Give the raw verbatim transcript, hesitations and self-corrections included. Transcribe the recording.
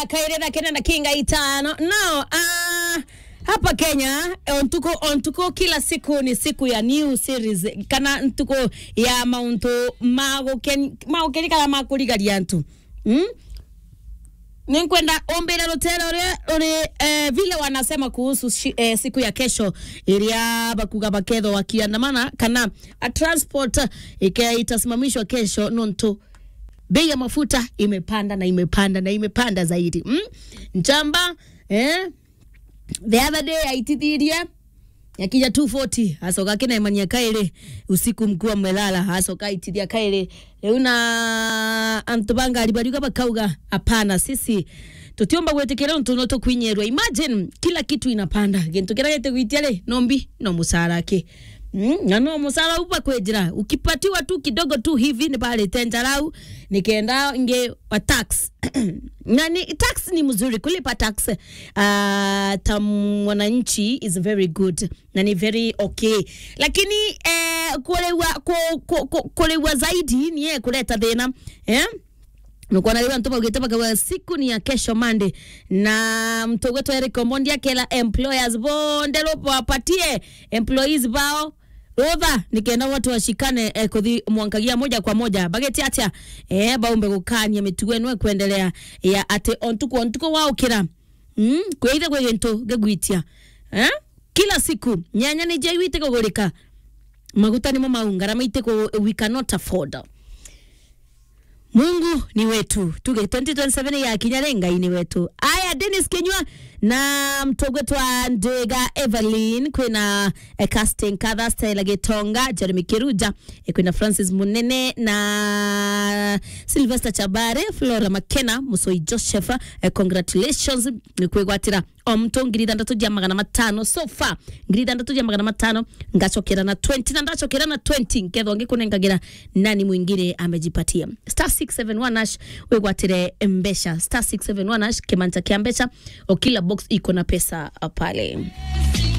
Kairi thaa kenda na kinga itano. Now, ah, hapa Kenya, o ntuku, o ntuku, kila siku ni siku ya new series, kana ntuku ya mauntu ma gukeni-, ma gukeni kana ma kurigaria antu. Mm? Ninkwenda umbire rutere uria ruri, eh, vile wanasema kuhusu shi-, eh, siku ya kesho, iria bakuga bakethwa wakiandamana, kana a transport ike-, itasimamishwa kesho nontu bei ya mafuta imepanda na imepanda na imepanda zaidi. Mm? Nchamba, eh, the other day aitithirie, yakinya two forty, acoka akinemania kairi, usiku mkuu amelala, acoka aitithia kairi. Riu na antu ba ngari bariuga bakauga, "Hapana, sisi tutiumba gwitikira untu no tukwinyirwa." Imagine, kila kitu inapanda. Gintu kiria gitigwitia ri, no mbi, no musara ki. Mm, na no musara uba kwenjira. Ukipatiwa tu kidogo tu hivi, ni barite njarau, nikenda nge wa tax. Na ni, tax ni mzuri, kulipa tax, ah, ta mwananchi is very good. Na ni very okay. Lakini, eh, kurewa, ku-, ku-, ku-, kurewa zaidi ni ye kureta thina. Eh? Nukwona riu antu baugite bakauga siku ni ya kesho Monday. Na mtu gwetu Eric Omondi akela employers bonde rubapatie employees bao rutha, nikenda watu washikane, eh, kuthi mwankagia moja kwa moja. Bageti atia? Eh, baumbe gukania mitugo ino ikwendelea ya ati o ntuku, o ntuku waukira. Mm, kwithe kwi gintu gigwitia. Eh? Kila siku, nyanya ni jaiwite kugurika. Maguta nimo mau, ngarama itiku, we cannot afford. Mungu ni wetu. Tuge twenty twenty-seven ya kinya ri, Ngai ni wetu. Aya, Dennis Kinyua na mtogwe twa Ndega Evelyn, kwina, eh, Casting Katha, Stella Gitonga, Jeremy Kiruja, eh, kwina Francis Munene na Sylvester Chabare, Flora Makena, Musoi Joseph, eh, congratulations, ni kwigwatira o mtu ngiri ithanthatu ja magana matano. So far, ngiri ithanthatu ja magana matano, ngacokera na twenty, na ndacokera na twenty, nkethwa ngikunengagira nani mwingine amejipatia. Star six seven one hash, wigwatire mbeca. Star six seven one hash, kimanja kia mbeca, o kila box iko na pesa pale.